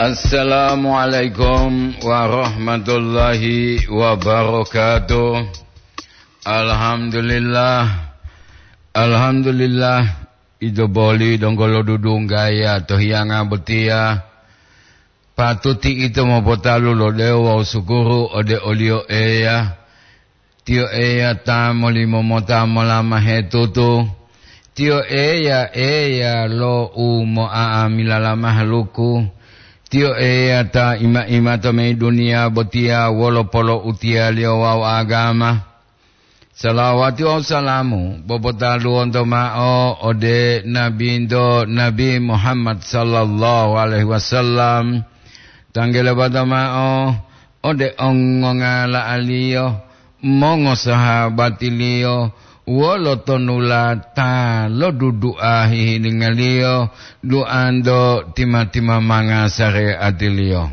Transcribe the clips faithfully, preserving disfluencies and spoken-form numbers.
Assalamualaikum warahmatullahi wabarakatuh. Alhamdulillah. Alhamdulillah. Ito boli donggo lodudunggaya to hiyanga botiya. Patuti ito mopotalu lo dewo wawu sukuru ode oliyo Eya. Tiyo Eya ta molimomota molamahe tutu. Tiyo Eya, Eya lo u mo'a'amilala mahaluku. Tiyo Eya ta ima-imato mayi duniya botiya wolo poloutiyaliyo wawu agama. Salawati wawu salamu bopotaluwonto ma'o ode Nabinto Nabi Muhammad sallallahu alaihi wasallam. Tanggele bata ma'o ode ongongala'aliyo, mongosahabatiliyo, wolo tonulata lo dudu'a hihiningaliyo, duanto tima-timamanga sare'atiliyo.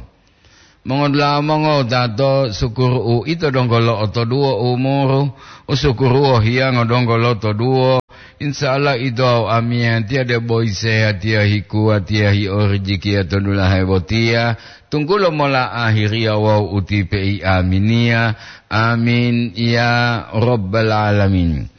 Mongodula'a mongowutato, sukuru uito donggo lo'otoduwo umuru, usukuruwo hiyango donggo lotoduwo. Insa'Allah ito wawu amiyatiya debo yisehatiya hikuwatiya hi'orijikiya to dulahe botiya, tunggulo mola ahiriya wawu utipe'i aminiya. Amin ya rabbal alamin.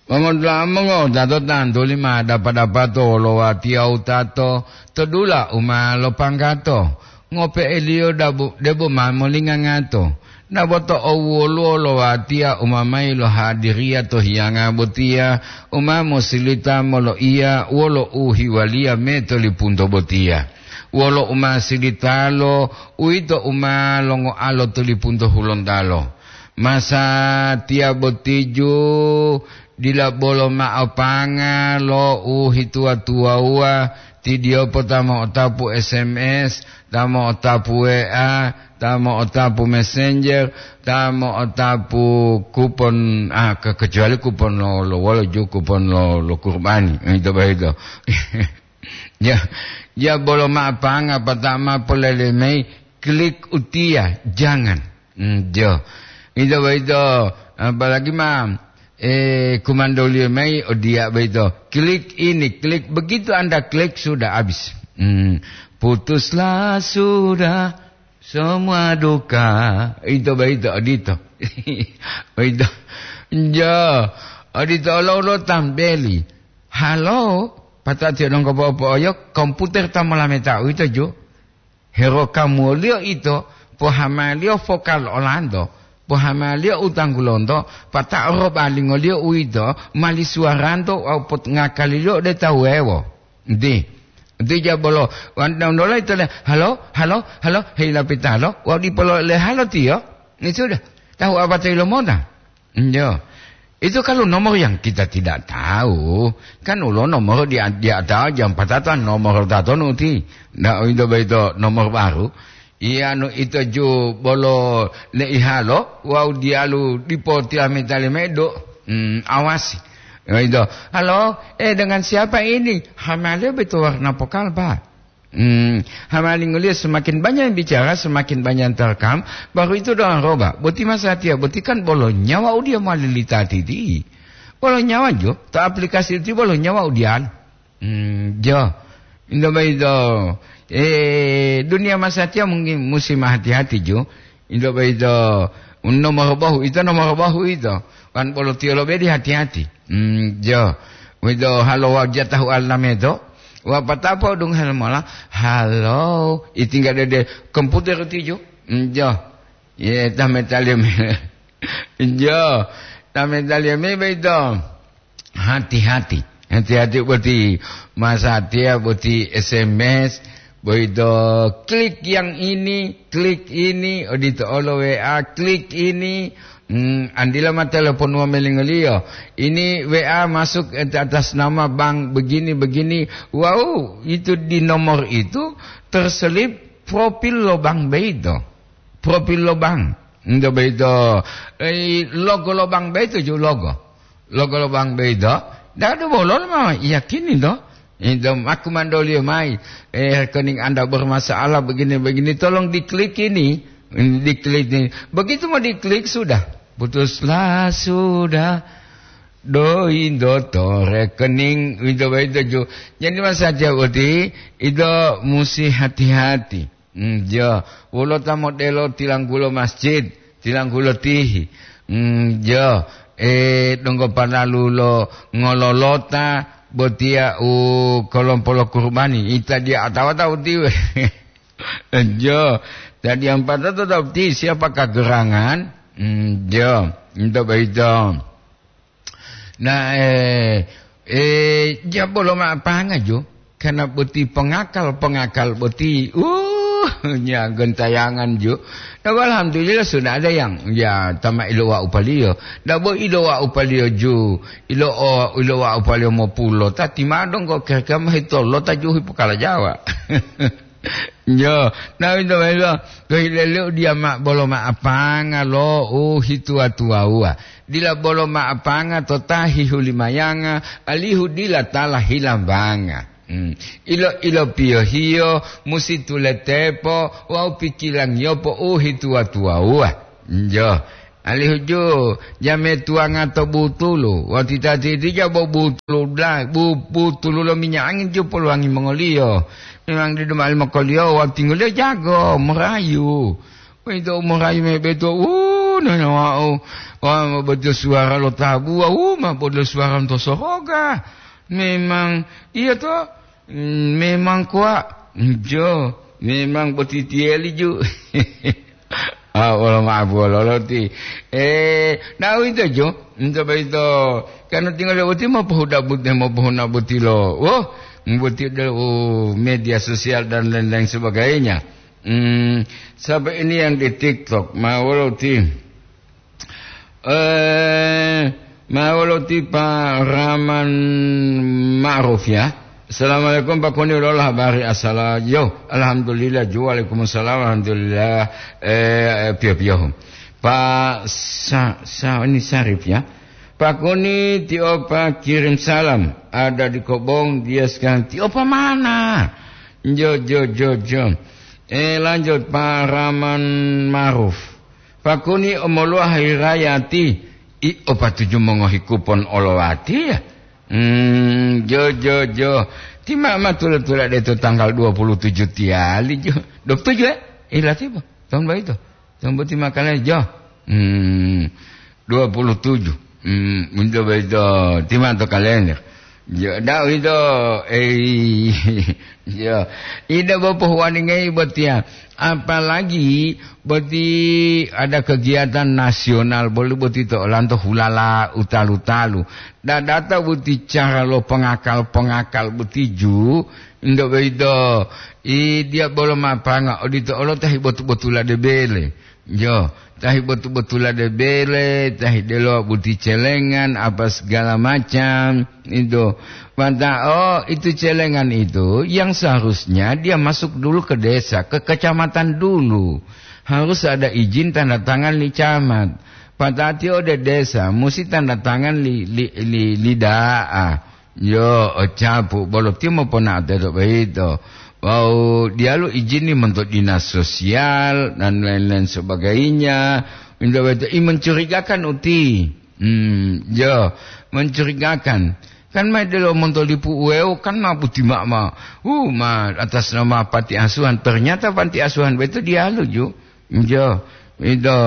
Mongodula'a mongowutato tantuli ma dapa-dapato wolo watiya wutato to dula u ma lopanggato, ngope'eliyo dabu-, debo ma molingangato. Dabo to owoluwo lo watiya u ma mayi lohadiriya to hiyanga botiya, u ma mosilita moloiya wolo u hiwaliya me to lipunto botiya. Wolo u ma silitalo, uwito u ma longoalo to lipunto hulontalo. Masatiya botiju dila bolo ma'o panga lo u hituwa-tuwawuwa, tidiyopo ta mo'otapu S M S, ta mo'otapu W A, ta mo'otapu Messenger, ta mo'otapu kupon, ah, ke-, kecuali kupon lo, lo wolo ju kupon lo, lo kurbani, eh, ito boyito. Ya, ya bolo ma'o panga, pata ma polele mayi, klik utiya, jangan. Hmm, jo. Ito boyito, apalagi ma, eh, kumandoliyo mayi odiya boyito. Klik ini, klik. Begitu Anda klik, sudah habis. Hmm, putuslah sudah semua duka. Ito boyito, odito. Boyito. Jo. Odito olo-olo tambeli. Halo, pata'atiyo donggo po'o-po'oyo, komputer ta molameta uwito, jo. Herokamuwoliyo ito, pohamaliyo vokal olanto, pohamaliyo u tanggulonto, pata'o robalingoliyo uwito mali suwaranto wawu pot-, ngakaliliyo ode ta wuwewo. Nti, nti jabolo, wan-, donggo ito le, "Halo, halo, halo, hei lapitalo," wawu dipo lo le halo tiyo, ni sudah, tahu apa to yilomota? Iyo. Itu kalau nomor yang kita tidak tahu, kan ulo nomor di, di atas jam patata nomor tatonu ti. Nah, itu begitu nomor baru. Iya, anu ito ju bolo leihalo, wawu diyalu dipo tilameta limedo. Hmm, awasi. Nah, itu. "Halo, eh, dengan siapa ini?" Hamale betul warna pokal, Pak. Hmm, hamalingoliyo semakin banyak yang bicara, semakin banyak yang terekam, baru itu doang roba. Boti masatiya, boti kan bolo nyawa udiya mowali litati ti. Bolo nyawa jo, to aplikasi ti bolo nyawa udiyan. Hmm, jo. Indo boyito, eh, duniya masatiya mungkin musi mahati-hati jo. Ito boyito nomor bohu, ito nomor bohu ito. Wan bolo tiyo lobedi hati-hati. Hmm, jo. Wito halo wajah tahu alameto. Wapatapo dung hal mola. Halo. Itingga dede komputer tijo. Hmm, jo. Ye, tametaliyo me. Jo. Tametaliyo me boyito. Hati-hati. Hati-hati boti masatiya boti S M S, boyito klik yang ini, klik ini, odito olo W A, klik ini. Hmm, andila ma telepon wamelingoliyo. Ini W A masuk, eh, atas nama bank begini-begini. Wow, itu di nomor itu terselip profil lo bank boyito. Profil lo bank. Ento boyito, eh, logo lo bank boyito ju logo. Logo lo bank boyito, dadu bololo ma yakini to. Ento ma kumandoliyo mayi, eh, rekening Anda bermasalah begini-begini, tolong diklik ini, diklik ini. Begitu mau diklik sudah, putuslah sudah. Dointo to rekening, ento boyito ju. Jadi masatiya boti, ito musi hati-hati. Mm, jo, wolo ta modelo tilanggulo masjid, tilanggulo tihi. Mm, jo, e, donggo panalu lo ngololota botiya u kolompo lo kurubani, ita dia atawa tahu tiwe. Jo, tadi ampata to tahu ti siapa kagerangan? Mm, jo, into baito. Nah, eh, eh, jabo lo ma'apanga jo, karena boti pengakal-pengakal boti, uh, nya gentayangan jo. Nah, alhamdulillah sudah ada yang, ya, tama ilowa upaliyo. Dabo ilowa upaliyo ju, ilo o, ilowa upaliyo mopulo, tati madong kok kira-kira mahitolo tajuhi pokala Jawa. Jo, na uwito boyito, to hileliyo diya ma-, bolo ma'apanga lo u hituwa-tuwawuwa. Dila bolo ma'apanga to ta hihulimayanga, alihu dila tala hilambanga. Hmm. Ilo-, ilopiyohiyo musi tuletepo wawu pikilangiyopo u hituwa-tuwawuwa. Jo. Alihu ju, jame tuwanga to butulu, wawu tita-titija bo butulu dulayi, bu-, butulu lo minyak angin ju poluwangi mongoliyo. Memang didu ma'ali mokoliyo wawu tinggoliyo jago, morayu. Uwito u morayu me beto, wu, nana wau, wa, ma beto suwara lo tabuwa, wu, ma bodo suwara lonto soroga. Memang, iya to? Mm, memang kuwa, jo, memang botitiyeli ju. Ah, wolo ma'apu wololo ti. Eh, na uwito jo, into boyito, kanu tinggal boti mopohuda bute, mopohuna boti lo. Wo, boti de, oh, media sosial dan lain-lain sebagainya. Hmm, sampai ini yang di TikTok, ma wolo ti. Eh, ma wolo ti Pak Rahman Ma'ruf ya. Assalamualaikum Pak Koni, wolo habari asala. Yo, alhamdulillah ju, waalaikumsalam, alhamdulillah. Eh, piyo-piyo. Pak Sa-, Sa-, ini Sarif ya. Pak Koni, tio Pak kirim salam. Ada di Kobong, dia sekarang tio Pak mana? Jo, jo, jo, jo. Eh, lanjut Pak Rahman Ma'ruf. Pakuni omoluwa hirayati, i opatuju mongohi kupon olowatiya. Hmm, jo, jo, jo. Ti ma, ma tula-tula de to tanggal dua puluh tujuh tiyali, jo. Dua puluh tujuh, eh? Ila tiba. Tahun baito. Tahun boti makale, jo. Hmm, dua puluh tujuh. Hmm, untuk baito. Ti ma to kalender. Ya, dah itu, eh, ya. Ida bopoh waningai botia. Apalagi boti ada kegiatan nasional, boli boti to olanto hulala utalu-talu. Dadata boti cara lo pengakal-pengakal boti ju, indo boyito, i dia bolo mapanga, odito olo tahi botu-botula de bele. Jo, tahi botu-botula de bele, tahi delowa boti celengan, apa segala macam, itu. Mata, oh, itu celengan itu yang seharusnya dia masuk dulu ke desa, ke kecamatan dulu. Harus ada izin tanda tangan li camat. Patati ode desa, musi tanda tangan li, li, li, li da'a. Yo, o capu, bolo tiyo mopona'o teto boyito. Wawu diyalu ijini monto dinas sosial dan lain-lain sebagainya. Minta boyito, i mencurigakan uti. Hmm, yo, mencurigakan. Kan ma delo monto lipu uweo, kan ma buti ma, ma, uh, ma atas nama panti asuhan. Ternyata panti asuhan boyito diyalu ju. Yo, itu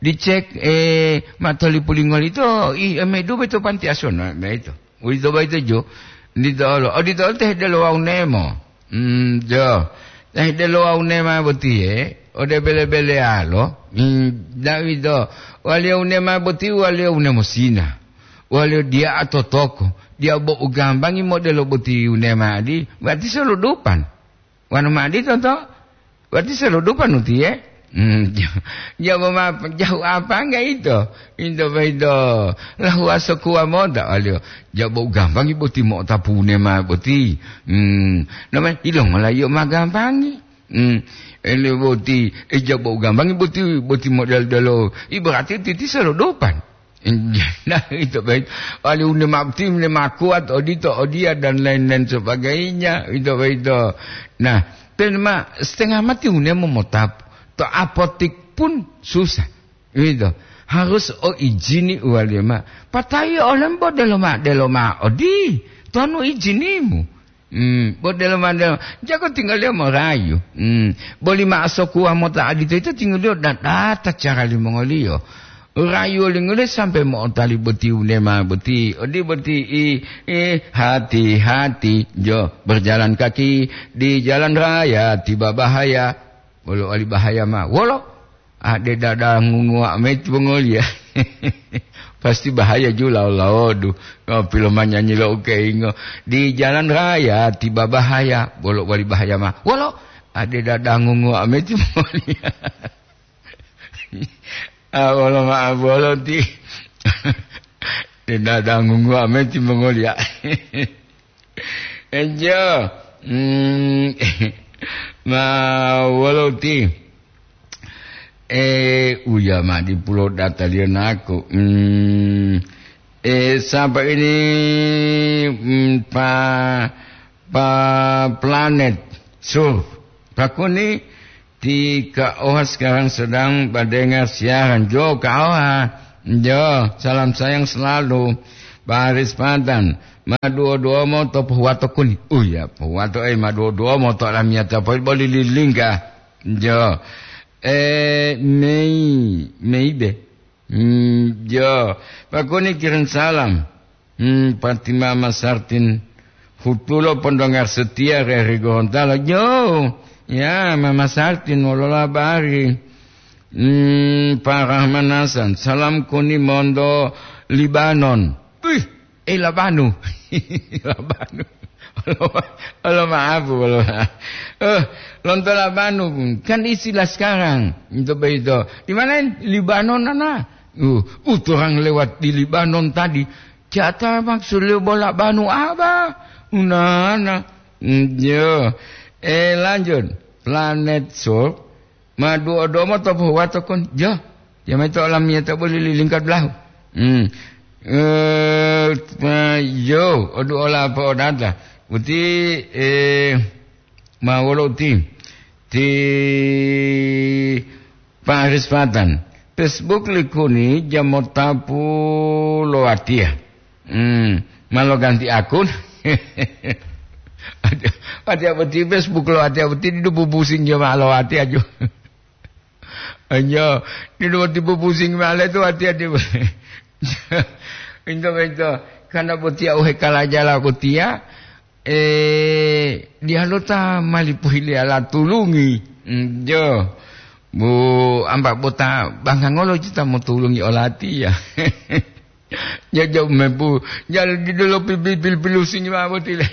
dicek, eh, ma to lipu lingol itu, i, eh, medu boyito panti asuhan, ma, ma itu. Uwito boyito ju, dito olo. Odito olo te delo wawu nemo. Hmm, jo. Te delo wawu nema botiye, ode bele-belealo. Hmm, dawito. Waliyo unema boti, waliyo unemo sina. Waliyo diya atotoko. Diya bo ugambangi modelo boti unema adi, berarti soludupan. Wanu ma adito to? Berarti seludupan utiye? Hmm, jabo ma jahu apa enggak itu? Into boyito. Lahuwa sokuwa mota, aliyo. Jabo gampangi boti mo'otapune ma boti. Hmm, namanya ilongola iyo ma gampangi. Hmm, ele boti, e jabo gampangi boti, boti model delo. I berarti titi seludupan. Nah, itu baik. Wali une ma tim ne ma kuat odito, odia dan lain-lain sebagainya, itu baik itu. Nah, ten ma setengah mati une momotap. To apotik pun susah. Itu. Harus o izini wali ma. Patai olembo deloma, deloma odi. Tonu izinimu. Hmm, bo delo mande, jago tinggaliyo morayu. Hmm, boli ma'o sokuwa mota adito ito tinggaliyo dadata cara limongoliyo. Rayu lingole sampai mo'otali boti unema boti. Odi boti i, i, hati-hati jo berjalan kaki di jalan raya tiba bahaya. Bolo wali bahaya ma. Wolo? Ade dada ngunguwa meti bongoliya. Pasti bahaya ju lao-laodu. Ngopi lo manyanyi lo ukeingo. Di jalan raya tiba bahaya. Bolo wali bahaya ma. Wolo? Ade dada ngunguwa meti bongoliya. Ah, wolo ma bolo ti. Ade dada ngunguwa meti bongoliya. Enjo. Hmm. Ma wolo ti. Eh, uya ma di pulo data liyo naku. Hmm. Eh, sapa ini, hmm, pa, pa planet Sur. Pakuni ti Kak Oha sekarang sedang mendengar siaran. Jo, Kak Oha. Jo, salam sayang selalu. Baris Pantan. Maduo-duomo to pohuwato kuni. Uya, pohuwato, eh, maduo-duomo to alamiyata poli boli lilingga. Jo. Eh, mei, mei be. Hmm, jo. Pakuni kirim salam. Hmm, Fatima Masartin. Hutulo pondongar setia re Rigo Hontalo. Jo. Ya, Mama Sartin, wolola bari. Hmm, Pak Rahman Hasan. Salam kuni monto Libanon. Wih, eh, Labanu. Labanu. Olo, olo maaf, olo maaf. Eh, lonto Labanu, kan istilah sekarang. Itu begitu. Di mana ini? Libanon, nana. Uh, uh, orang lewat di Libanon tadi. Jata maksud liyo bo Labanu apa? Unana. Hmm, yo. Eh, lanjut. Planet Soul. Ma duo domo to pohuwato kon. Jo. Jamai to olamiyata boli lilingkat belahu. Hmm. Eh, ma, yo, odu ola apa odata. Uti, eh, ma wolo uti. Ti Pak Aris Patan. Facebook likuni jamotapu lo watiya. Hmm. Ma loganti akun. Watiya boti Facebook lo watiya boti didu bubusing jo ma lo watiya jo. Anjo, didu boti bubusing male tu watiya di. Into, into. Karena botiya uhe kalajala botiya, eh, dialota mali pohile ala tulungi. Hmm, jo. Bu, amba bota bangkangolo cita motulungi olatiya. Jaja mebu, jal didu lo pipi-, pil-, pilusingi ma'o boti le.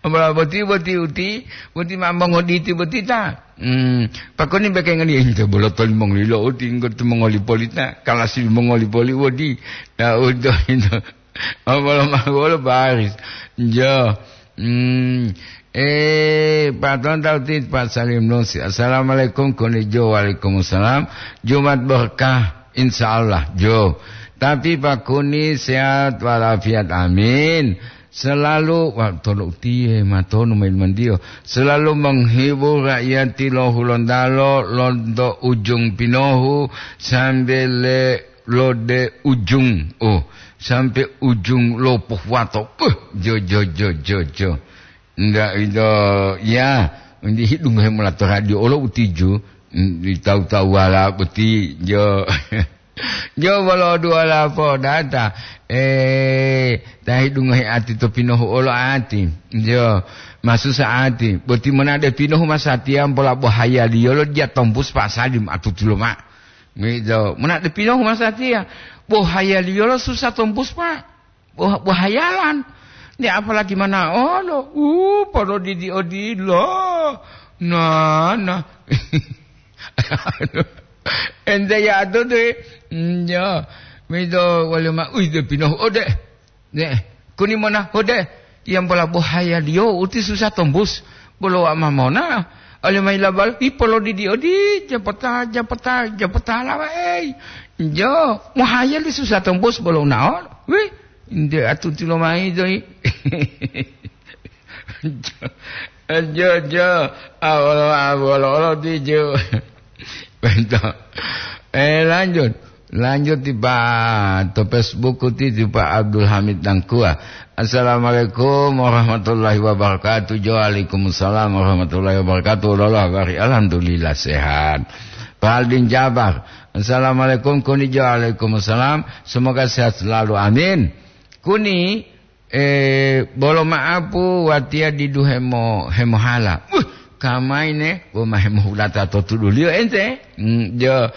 Amala boti, boti uti, boti ma mongoditi boti ta. Hmm, pakoni beke ngani ente bolo toli mongoli lo uti, engko tu mongoli polita, kalasi mongoli poli wodi. Ya, udo, udo. Amala ma wolo baris. Jo. Hmm, eh, Pak Tonta uti, Pak Salim Nusi. Assalamualaikum, konijo, waalaikumsalam. Jumat berkah. Insya Allah, jo. Tapi Pak Kuni sehat walafiat, amin. Selalu, wa-, tolo utiye, matonu main mandiyo. Selalu menghibur rakyat lo Hulontalo, lonto ujung pinohu, sampai le lode ujung. Oh, sampai ujung lopoh wato. Uh, jo, jo, jo, jo, jo. Nda ito, ya, undi hidungo hemola to radio olo utiju, mm, di tawu-tawuwala boti, jo. Jo, bolo duwala podata, eh, ta hidungo he ati to pinohu olo ati, jo, masusa ati, boti monade pinohu masatiya mpola bohayaliyolo diya tombus pasali ma atutulo ma. Gitu. Monade pinohu masatiya, bohayaliyolo susa tombus, Pak. Wah, wahayalan. Nde apalagi manaolo, uh, podo didi odilo. Nah, nah. Ente ya atutu, mm, ya. Mido wale ma, uih, de pinohu ode. Ne, kuni mona ode. Yang bola bohayaliyo uti susah tombus. Bolo wa mamona. Ole mai labal, ipolo didi odi, japata, japata, japata lawa, ei. Jo, mohayali susah tombus bolo unaon. Wih. Nde atuti lomayi doyi. Jo, jo, jo. Awolo, awolo, olo ti jo. Betul. Eh, lanjut. Lanjut, tipa to Facebook ti, tipa Abdul Hamid Tangkua. "Assalamualaikum warahmatullahi wabarakatuh." Jo, "Waalaikumsalam warahmatullahi wabarakatuh. Lolo habari?" "Alhamdulillah, sehat." Pak Aldin Jabar. "Assalamualaikum." Kuni jo, "Waalaikumsalam. Semoga sehat selalu. Amin." Kuni, eh, bolo ma'apu watiya didu hemo-, hemohala. Wuh, kamaine, bo ma hemohulata to tuduliyo ente. Hmm, jo,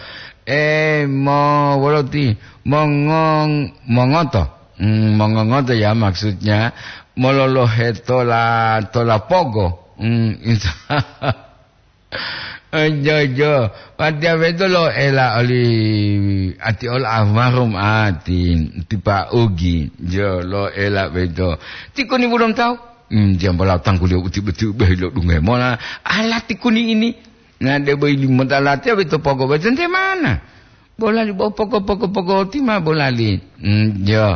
eh, mo-, wolo ti, mongong-, mongoto. Hmm, mongongoto ya maksudnya, mololohe tola, tola pogo. Hmm, jo, jo. Watiya beto lo ela oli ati ol almarhum ati, tipa ugi. Jo, lo ela beto. Tikuni bulom tahu? Hmm, jambola tangguliyo uti-uti ubehi lo dungai mona. Ala tikuni ini. Nah, de boy limo talatiya beto pogo beto ente mana? Bolali bo pogo, pogo, pogo ti ma bolali. Hmm, jo.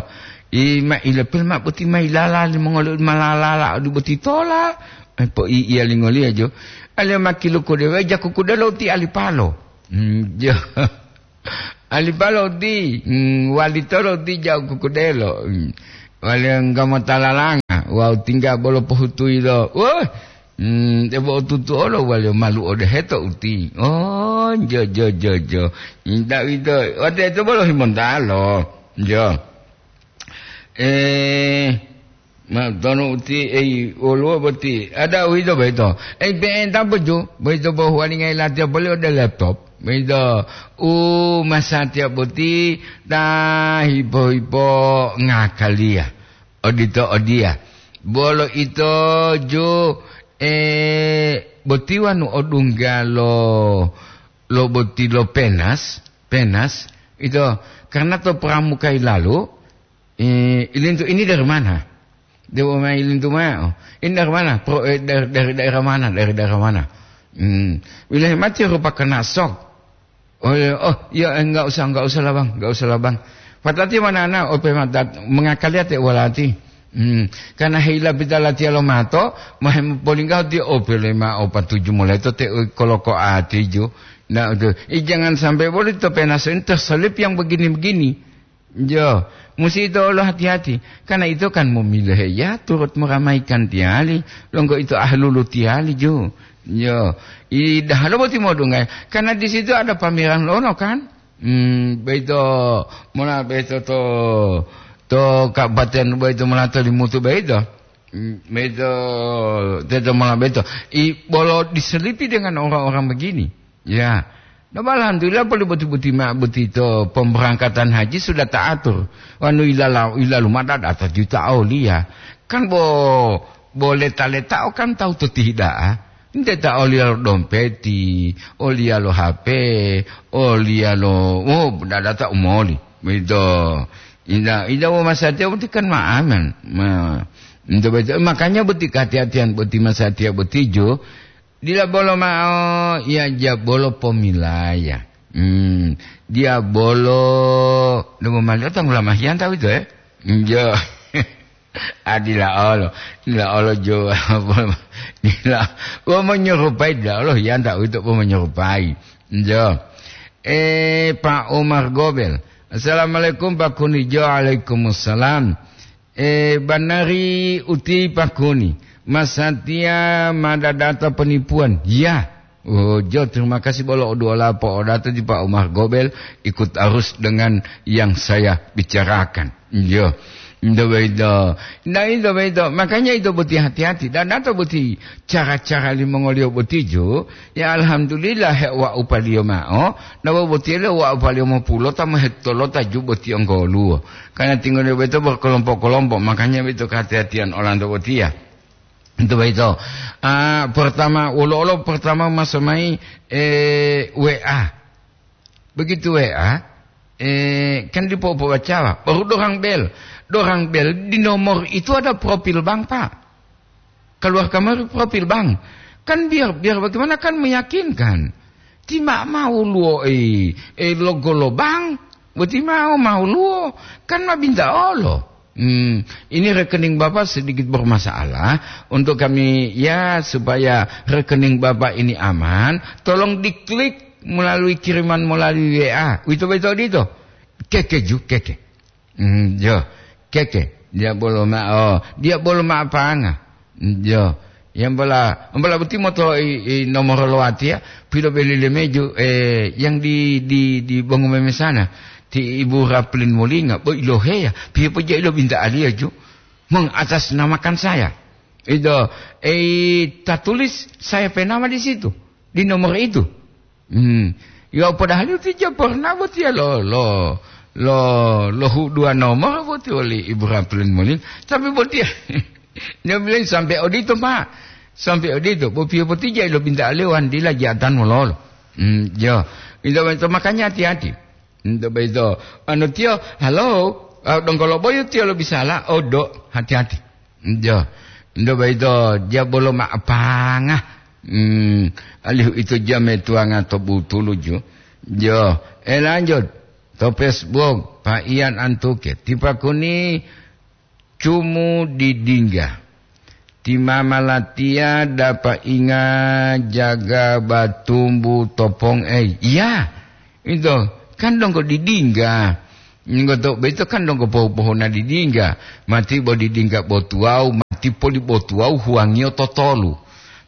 I ma ilepel ma boti ma ilala limongoli ma lalala odi boti tola. Eh, po i iya lingoliya jo. Ale ma kiluku dewe jaku kudelo ti alipalo. Hmm, jo. Alipalo ti, hmm, wali tolo ti jaku kudelo. Hmm. Wali enggamo talalanga, wau tingga bolo pohutui lo. Wah, Hmm, debo otutu olo waliyo malu ode heto uti. Oh, jo, jo, jo, jo. Inta uwito, wate to bolo himontalo. Jo. Eh, ma tono uti, ei, woluwo boti. Ada uwito boyito. Ei, pe'enta bojo, boyito bo huwalinga ilatiya boli ode laptop. Boyito, u masatiya boti, ta hipo-hipo ngakaliya. Odito odiya. Bolo ito ju, eh, boti wanu odungga lo, lo boti lo penas, penas, ito, karena to pramuka ilalu, eh, ilintu ini dari mana? Dewa mai ilintu ma'o. Ini dari mana? Pro-, eh, dari, dari daerah mana? Dari daerah mana? Hmm. Wilayah mati rupa kena sok. Oh, iya, oh, iya, eh, enggak usah, enggak usah lah, Bang, enggak usah lah, Bang. Patati mana ana ope mata mengakali ate walati. Hmm, karena hila pita latiya lo mato, mahem polingga ti ope lema opa tuju mulai to te koloko ati ju. Nah, itu. I jangan sampai boleh to penasen terselip yang begini-begini. Jo, musi ito olo hati-hati. Karena ito kan momilohe ya turut meramaikan tiyali, longgo ito ahlulu tiyali jo. Jo, i dahalo boti modungai. Karena di situ ada pameran lono kan. Hmm, beito mona beito to, to kabupaten beito mona to Limutu beito. Hmm, beito, teto mona beito. I bolo diselipi dengan orang-orang begini. Ya. Nah, alhamdulillah, perlu boti-boti ma-, boti to pemberangkatan haji sudah taatur. Wanu ilala-, ilalu mada data juta aulia. Kan bo, bo leta-letao kan tahu to tihida'a. Nte ta olia lo dompeti, olia lo H P, olia lo, oh, dada ta umoli. Begitu. Inda, inda wo masatiya boti kan ma aman. Ma, nte begitu. Makanya boti kehati-hatian boti masatiya boti jo, Dila bolo ma'o, iya, diabolo pomilaya. Hmm, diabolo, debo maliyo tanggula mahiyan tawu ito, eh? Njo. Adila olo, dila olo jo, dila, wau menyerupai dila olo, hiyan tawu ito, wau menyerupai. Njo. Eh, Pak Umar Gobel. Assalamualaikum, Pak Kunijo. Waalaikumsalam. Eh, banari uti pakuni, masatiya ma dadata penipuan. Ya. Oh, jo, terima kasih bolo oduola po'odato ti Pak Umar Gobel ikut arus dengan yang saya bicarakan. Jo. Ndo begitu. Nah, itu begitu. Makanya itu boti hati-hati. Dan atau boti cara-cara limongoliyo boti jo. Ya, alhamdulillah, he wa upaliyo ma'o. Nawa boti le wa upaliyo mopulo ta mohetolo ta ju boti onggoluwo. Karena tinggal beto berkelompok-kelompok, makanya beto kehati-hatian olanto botiya. Itu beto. Ah, pertama, olo-olo pertama masuk mai, eh, W A. Begitu W A, eh, kan dipo-, pobacawa. Baru dorang bel. Dorang bel di nomor itu ada profil bank, Pak. Keluar kamari profil bank. Kan biar, biar bagaimana kan meyakinkan. Ti ma mau luo, eh, eh, logo lo bank. Boti mau, mau luo. Kan ma binta olo. Hmm, ini rekening Bapak sedikit bermasalah. Untuk kami, ya, supaya rekening Bapak ini aman, tolong diklik melalui kiriman melalui W A. Uwito beto odito. Keke ju, keke. Mm, jo, keke. Dia bolo ma, oh, dia bolo ma apanga. Mm, jo. Yang bola, bola boti moto i, i nomor loatia, pilo beli lemeju, eh, yang di, di, di bongo memesana. Ti Ibu Raplin Molinga, bo iloheya, piye po ja ilo binta alia ju. Mengatasnamakan saya. Itu, eh, tertulis saya penama di situ, di nomor itu. Hmm. Ya, padahal itu ja pernah botiya lo, lo, lo, lo hu-, dua nomor boti oli Ibu Raplin Molin. Tapi botiya, dia bilang sampai odito, Pak. Sampai odito. Bo piye boti ja ilo binta lewan dila jatan mololo. Hmm, ya. Itu, itu makanya hati-hati. Nto boyito, anu tiyo, "Halo, ah, donggo lo boyu tiyo lobisala, odo, hati-hati." Jo, nto boyito, dia bolo ma apanga. Hmm, alihu ito jame tuanga to butulu ju. Jo, eh, lanjut. To Facebook, Pak Ian Antuke. Tipa kuni cumu didingga. Ti mama latiya dapa inga jaga batumbu topong ei. Iya, ito kan donggo didingga. Ngoto boyito kan donggo pohu-pohuna didingga. Mati bo didingga bo tuwawu, mati poli bo tuwawu huwangiyo totolu.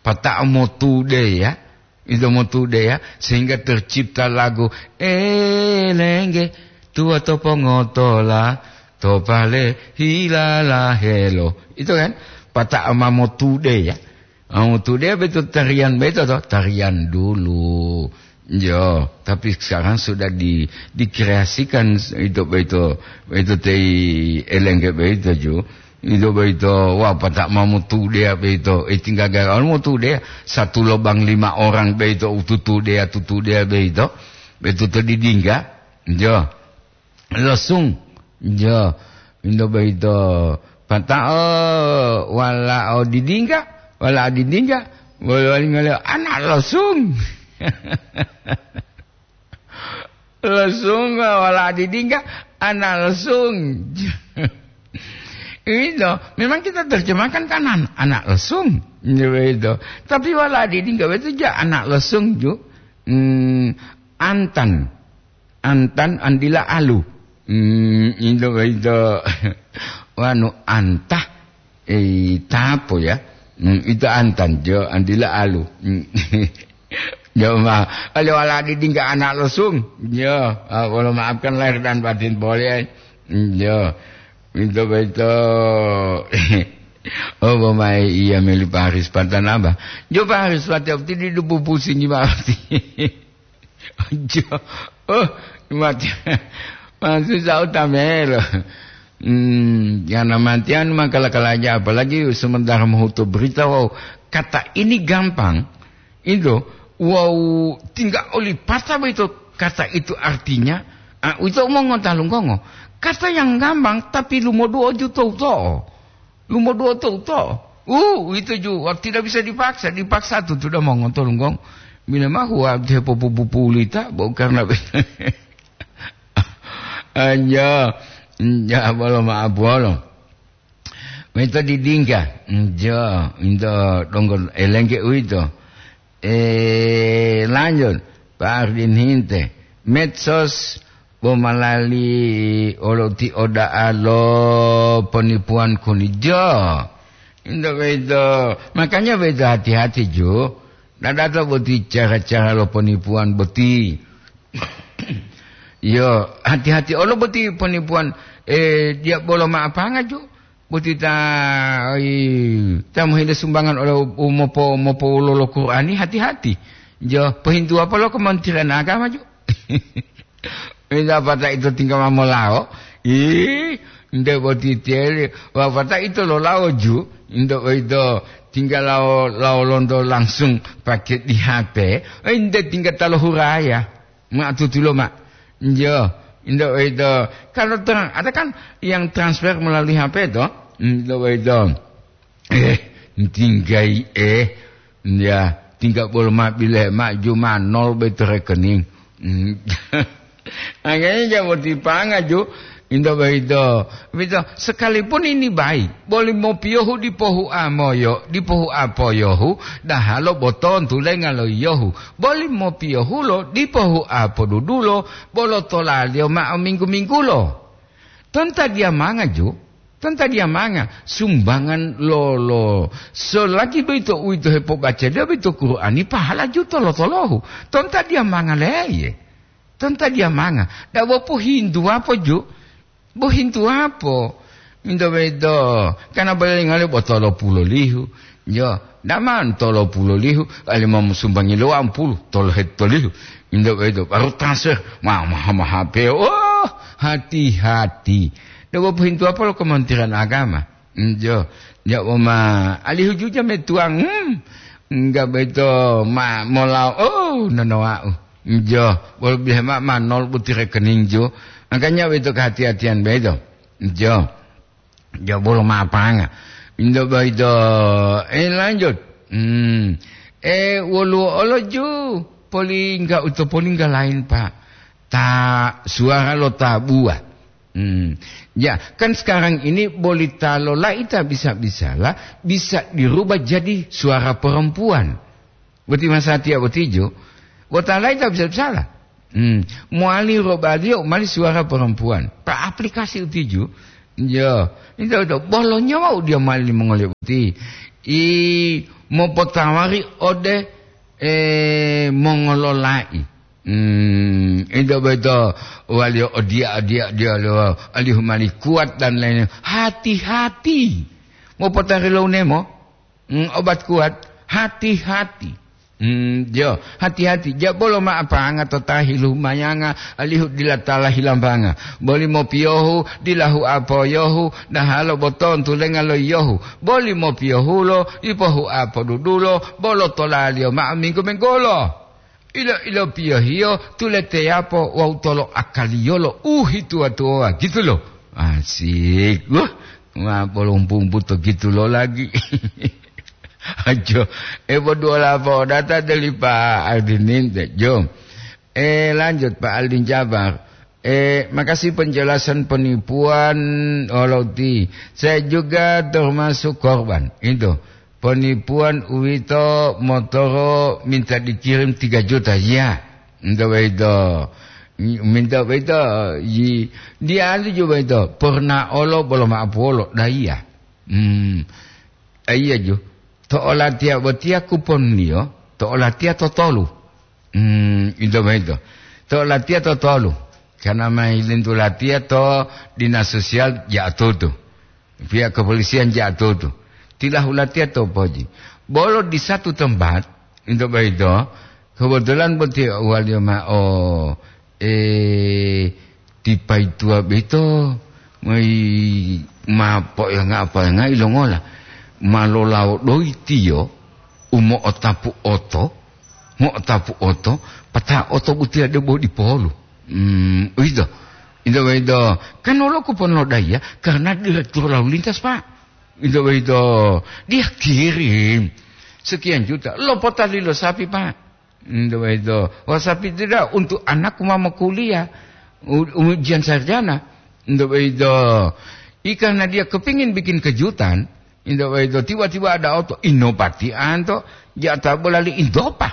Pata'o motude ya. Ito motude ya, sehingga tercipta lagu, "Elengge, tuwa to pongotola, to pale hilala helo." Itu kan, pata'o ma motude ya. Ah, motude betul tarian betul toh, tarian dulu. Yo, tapi sekarang sudah di, dikreasikan itu, itu, itu tei elengge begitu ju. Itu boyito, wah, pata'o ma motude beito. Eh, tinggal gagal motude, satu lobang lima orang beito, ututude, tutude beito. Beito to didingga. Jo. Losung. Jo. Indo boyito, pata'o wala'o didingga, wala'o didingga, wali-wali ngale anak losung. Losung, wala didingga, anak losung. Itu, memang kita terjemahkan kan an-, anak losung. Itu. Tapi wala didingga itu ja anak losung ju. Hmm, antan. Antan andila alu. Hmm, itu, itu. Wanu antah. Eh, tapo ya? Hmm, itu antan jo, andila alu. Hmm. Jo, ma, kalau wala didingga anak losung. Jo, ah, wala maafkan lahir dan batin boleh. Hmm, jo. Itu betul. Oh, bomai iya meli Pak Haris Patan apa? Jo, Pak Haris Patan, tidak pusing gimana? Jo. Oh, mati. Maksud saya utamelo. Hmm, yang namanya maka kala-kala aja, apalagi sementara menghutu berita, wow, kata ini gampang, itu, wow, tinggal oli pata itu, kata itu artinya, ah, itu omong ngonta lunggongo. Kata yang gampang, tapi lumoduo juta uto'o. Lumoduo to uto. Uh, itu ju, wak-, tidak bisa dipaksa. Dipaksa tu sudah mongontolunggong. Bila mah wak-, dia pupu-pupu ulita, bo karena anja, anja bolo maaf bolo. Meta didingka. Anja, inta donggo elengke uito. Eh, lanjut, Pak Ardin hinte. Medsos bo malali olo ti oda'a lo penipuan kunijo. Inta beito. Makanya beito hati-hati ju. Dadato boti cara-cara lo penipuan boti. Yo, hati-hati olo boti penipuan, eh, dia bolo maapanga ju. Boti ta, ai, ta mohile sumbangan olo u mopo-, mopowololo Qur'ani, hati-hati. Jo, pohintuwa polo Kementerian Agama ju. Minta pata ito tinggal mamolao. Ih, nde boti tele. Wa pata ito lolao ju. Nde ito tinggal lao, lao lonto langsung pakai di H P. Eh, nde tinggal talo huraya. Ma tutulo ma. Njo, indo itu. Kalau terang, ada kan yang transfer melalui H P to? Indo itu. Eh, tinggai eh. Ya, tinggal bolo ma bile ma ju ma nol beto rekening. Hmm. Angkanya jabo tipanga ju. Into boyito, boyito, sekalipun ini baik, boli mopiyohu dipo hua moyo, dipo hua poyohu, dahalo bo tontulenga lo yiyohu. Boli mopiyohulo dipo hua podudulo, bolo tolaliyo ma'o minggu-minggulo. Tonta diyamanga ju, tonta diyamanga, sumbangan lo, lo, selagi boyito uwito hepobacaliyo boyito Qur'ani, pahala ju tolo-tolohu. Tonta diyamanga leye. Tonta diyamanga. Dabo pohintuwapo ju. Bohintuwapo. Minto boyito. Kana bolingole bo tolo pulo lihu. Jo. Daman tolo pulo lihu. Alima musumbangi lo wampulu. Tolo hetolihu. Minto boyito. Baru tasir. Ma, maha-maha peo. Oh, hati-hati. Dabo pohintuwapo lo Kementerian Agama. Jo. Jo, ma. Alihu juja metuang. Hmm. Enggak boyito. Ma, molao. Oh, nonowau. Jo, bolo bihe ma, ma nol buti rekening jo. Makanya boyito kehati-hatian boyito. Jo. Jo, bolo ma apanga. Minto boyito, eh, lanjut. Hmm. Eh, woluwo olo ju, polingga uto polingga lain, Pak. Ta suara lo tabuwa. Hmm. Ya, kan sekarang ini bolita lo laita bisa-bisalah, bisa dirubah jadi suara perempuan. Boti masatiya botijo, bota laita bisa-bisala. Hmm. Mowali robaliyo mali suara perempuan. Pa aplikasi utijo, yo, itu, itu, bolonyo wau dia mali mongoliyo boti. I mopotawari ode, eh, mongololai. Hmm, itu boyito waliyo odiya, odiya, odiya, alihu mali kuat dan lainnya. Hati-hati. Mopotari lo unemo. Hmm, obat kuat, hati-hati. Hmm, jo, hati-hati. Ja bolo ma apanga to tahi lumayanga, alihu dila tala hilambanga. Boli mopiyohu, dilahu apoyohu, dahalo botontu lenga lo yiyohu. Boli mopiyohulo, ipohu apodudulo, bolo tolaliyo ma'o minggu-minggulo. Ilo-ilo piyohiyo tuleteyapo wawu tolo akaliyolo u hituwa-tuwowa, gitu lo. Asik. Wah, ma bolompu-umpu to gitu lo lagi. Ajo, e, boduola podata deli Pak Aldin ninte, jo. Eh, lanjut, Pak Aldin Jabar. Eh, makasih penjelasan penipuan, Oloti. Saya juga termasuk korban. Itu. Penipuan uwito motoro minta dikirim tiga juta. Ya. Minta begitu. Minta begitu. Yi, dia anu juga itu. Pernah olo bolo maapuolo. Dah iya. Hmm. Eh, iya ju. To olatiya botiya kuponliyo, to olatiya to tolu. Hmm, ito boyito. To latiya to tolu. Karena ma hilintu latiya to dinas sosial ja'atutu. Pihak kepolisian ja'atutu. Tilahu latiya to poji. Bolo di satu tempat, ito boyito, kebetulan boti waliyo ma'o, eh, ti paituwa boyito, moi ma po'enga-po'enga ilongola, ma lolawo doyi tiyo u mo'otapu oto, mo'otapu oto, pata oto butiya debo dipolu. Hmm, uwito. Ito boyito, kan wolo kupon lo daiya karena direktur lalu lintas, Pak. Ito boyito, dia kirim sekian juta, lopotali lo sapi, Pak. Ito boyito, wah, sapi tidak untuk anakku ma mokuliah, u-, ujian sarjana. Ito boyito, i karena dia kepingin bikin kejutan, Into boyito, tiba-tiba ada oto, inopatianto, jata bolali intopa.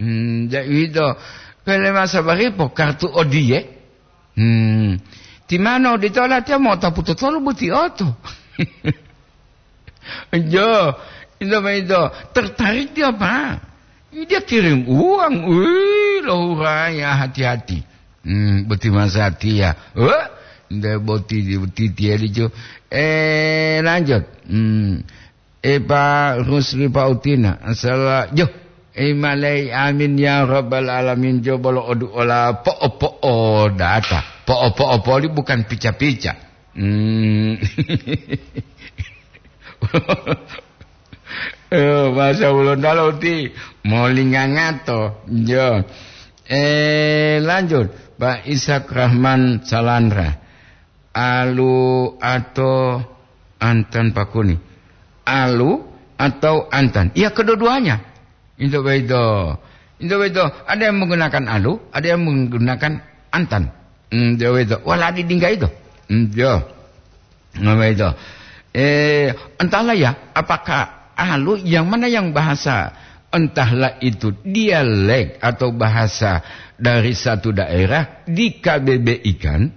Hmm, ja uwito, pele masa baripo kartu odiye. Hmm, timano odito latiya mo'otapu totolu boti oto. Jo, into boyito, tertarik dia, Pak. Dia kirim uang, wih, lohuraya, hati-hati. Hmm, boti masatiya. Wah, nde boti, boti tiya dijo. Eh, lanjut. Hmm. Eh, Pak Rusli Pautina. Asala, jo. Eh, malai amin ya rabbal alamin. Jo bolo odu ola po'o-po'o data. Po'o-po'o poli bukan pica-pica. Hmm. Eh, bahasa Hulondalo uti molingangato. Jo. Eh, lanjut, Pak Ishak Rahman Salandra. Alu atau antan pakuni? Alu atau antan? Ya, kedua-duanya. Into boyito. Into boyito, ada yang menggunakan alu, ada yang menggunakan antan. Hmm, dia itu. Wala di dingga itu. Hmm, yo. Nah, begitu. Eh, entahlah ya, apakah alu yang mana yang bahasa, entahlah itu dialek atau bahasa dari satu daerah di K B B I kan,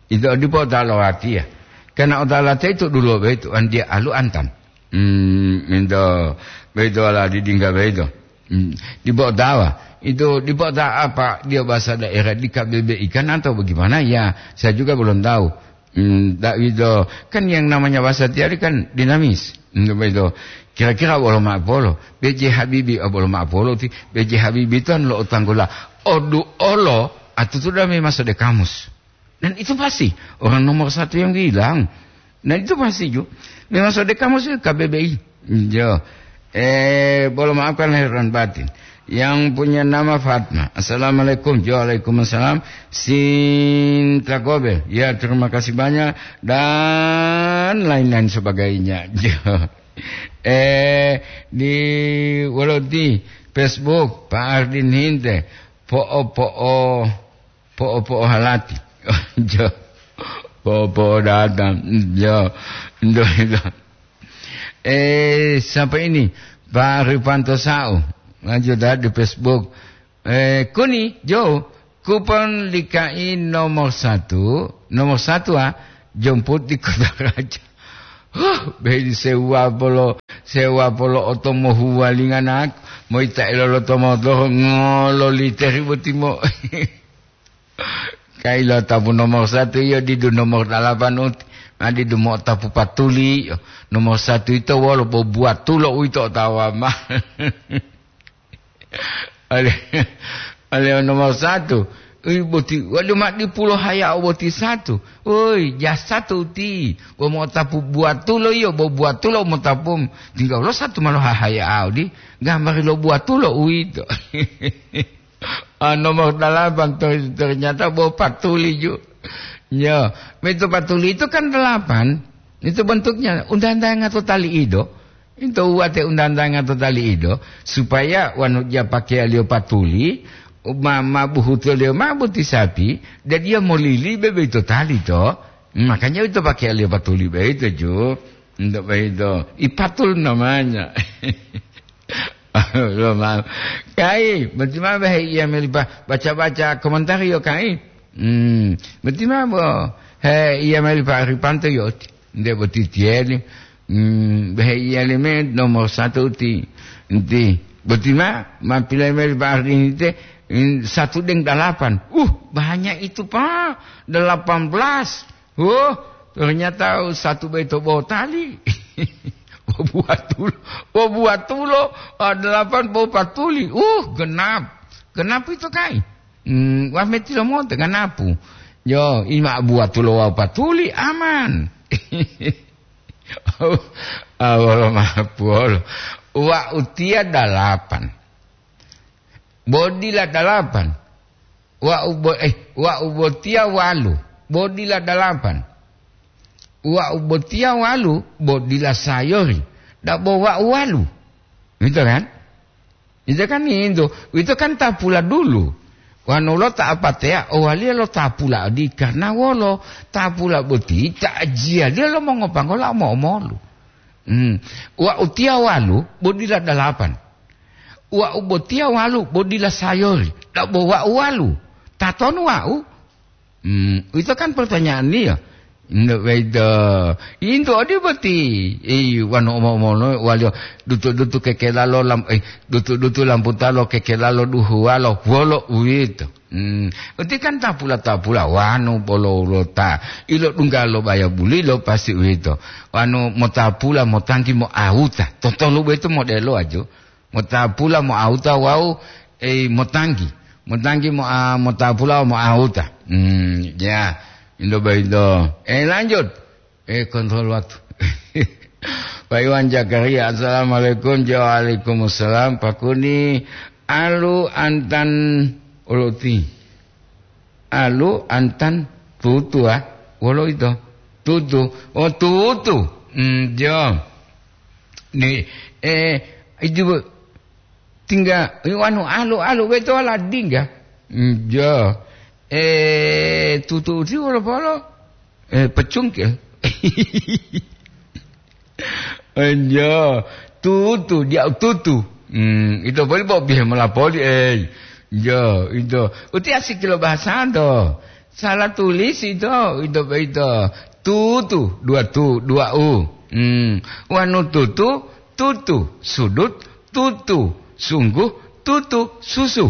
itu dipo talawati ya. Karena otalate itu dulu begitu, kan dia alu antan. Hmm, itu, begitu lah di Dingga begitu. Hmm, dipo tawa. Itu dipo ta apa dia bahasa daerah di K B B I kan atau bagaimana? Ya, saya juga belum tahu. Hmm, tak itu. Kan yang namanya bahasa tiari kan dinamis. Hmm, begitu. Kira-kira bolo ma'apolo. B J Habibie, oh, bolo ma'apolo ti. B J Habibie itu anu lo otanggula. Odu olo, atutu dame masuk di kamus. Dan itu pasti orang nomor satu yang bilang. Dan itu pasti ju. Memang sode kamus itu K B B I. Yo. Eh, bolo maafkan lahir dan batin. Yang punya nama Fatma. Assalamualaikum. Yo, waalaikumsalam. Sinta Gobel. Ya, terima kasih banyak. Dan lain-lain sebagainya. Yo. Eh, di wolo di Facebook, Pak Ardin Hinte. Po'o-po'o, po'o-po'o halati. Jo. Po'o-po'o datang. Jo. Ndo, ndo. Eh, siapa ini? Pak Rifanto Sau. Lanjut dah di Facebook. Eh, kuni, Jo. Kupon likai nomor satu. Nomor satu, ah. Jomput di Kota Raja. Huh, beli sewa polo, sewa polo oto mohuwalinga nak, moita eloloto motoro ngolo literi boti mo. Kailo tapu nomor satu iyo didu nomor dalapan uti, ma didu mo tapu patuli. Nomor satu ito wolo bobuatulo uwito otawa ma. Ale, ale nomor satu. Ui, boti, walu ma dipulo haya boti satu. Oi, ja satu ti. Bo mo tapu buatulo iyo, bo buatulo mo tapu. Tinggal lo satu malo hahaya audi. Gambari lo buatulo uwito. Ah, nomor dalapan ter-, ternyata bo patuli ju. Ya, itu patuli itu kan dalapan. Itu bentuknya undang-undang atau tali ido. Into uwate undang-undang to tali ido, supaya wanu ja pakeyaliyo patuli, ma, ma buhutoliyo ma boti sapi, dan dia molili bebe ito tali to. Makanya ito pakeyaliyo patuli beito ju. Untuk beito. Ipatul namanya. Lo ma-, kai, boti ma behe iya meli pa-, baca-baca komentar yo kai. Hmm, boti ma bo, he iya meli pa Ripanto yo. Nde boti tieli. Hmm, behe iya leme nomor satu ti, ti. Boti ma, ma pilih meli pa Ardini te, hmm, satu deng dalapan. Uh, banyak itu, Pak. Delapan belas. Oh, ternyata satu beto botali. Bobuatulo, bobuatulo, ah, delapan bopatuli. Uh, genap. Genap itu kai. Hmm, wah meti lomoto genapu. Yo, ima buatulo wau patuli aman. Ah, wolo mapu wolo. Wa utia dalapan. Bodila dalapan. Wa ubo-, eh, wa ubotia walu. Bodila dalapan. Wa ubotia walu, bodila sayori. Dabo wa uwalu. Gitu kan? Itu kan itu. Itu kan tapula dulu. Wanu lo ta apatea, owaliya lo tapula odi karena wolo. Tapula boti, ta ajiyaliya lo mongopangola omo-omolu. Hmm. Wa utia walu, bodila dalapan. Wa ubotia walu, bodila sayori. Dabo wa uwalu. Tatonu wau? Hmm, itu kan pertanyaannya. Ndak beda. Into odi boti. Eh, wanu omo-omono waliyo dutu-dutu kekelalo lam-, eh, dutu-dutu lamputalo kekelalo duhuwalo. Wolo uwito. Hmm, uti kan tapula-tapula wanu bolo ulota. Ilo dungga lo baya bulilo pasti uwito. Wanu motapula motanggi mo awuta. Totolu beto modelo aju. Motapula mo auta wau, eh, motanggi. Motanggi mo, ah, motapula mo auta. Hmm, ya. Indo baido. Eh, lanjut. Eh, kontrol waktu. Pak Iwan Zakaria, assalamualaikum. Waalaikumsalam. Pakuni alu antan uluti. Alu antan tutu, ah. Wolo ito? Tutu. Oh, tutu. Hmm, jo. Ni, eh, idu tingga, anu, alu, alu, beto ala dingga. Hmm, jo. Eh, tutu uti wolo polo? Eh, pecungkil. Enjo, tutu, dia tutu. Hmm, ito boli bo bihe molapoli, eh. Jo, ito. Uti asik lo bahasa do. Salah tulis ito, ito, ito. Tutu, dua tu, dua u. Hmm, wanu tutu, tutu, sudut, tutu, sungguh, tutu, susu.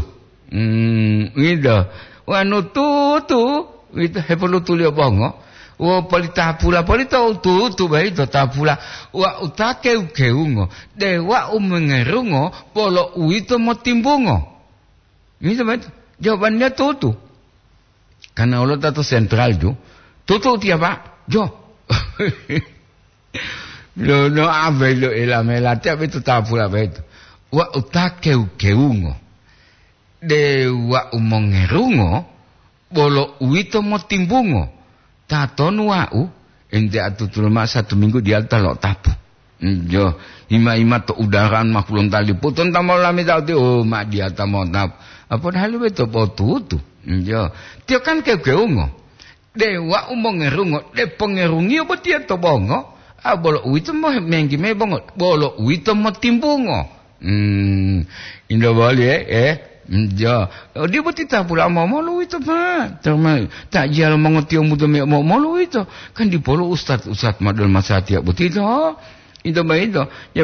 Hmm, ito. Wanu tutu, ito hepolutuliyo bongo. Wo poli tapula, poli to tutu bayi to tapula. Wa uta keu-keungo, de wa umengerungo, polo uwito motimbungo. Ito bayi to. Jawabannya tutu. Karena Allah tato sentral ju. Tutu tiapa? Jo. Lo no abe lo elamela tiap itu tapula bayi to. Wa uta keu-keungo. De wa'u mongerungo, bolo uwito motimbungo. Tatonu wa'u, ente atutulo ma'o satu minggu diyalu ta lo'otapu. Jo, ima-ima to udaran ma pulontalipu, tonta molameta uti, oh, ma diyata mo'otapu. Ah, padahal uwito potutu. Jo, tiyo kan keu-keungo. De wa'u mongerungo, de pongerungiyo botiya to bongo, a, bolo uwito mo-, menggi me bongo, bolo uwito motimbungo. Hmm, indo boli, eh, eh, jo. Odi boti tapula momolu uwito, Pak. Terma-, takjiya lo mongotiyombunto me momolu uwito. Kan dipolu ustad-ustad ma dol masatiya boti to. Ito ba ito. Ya,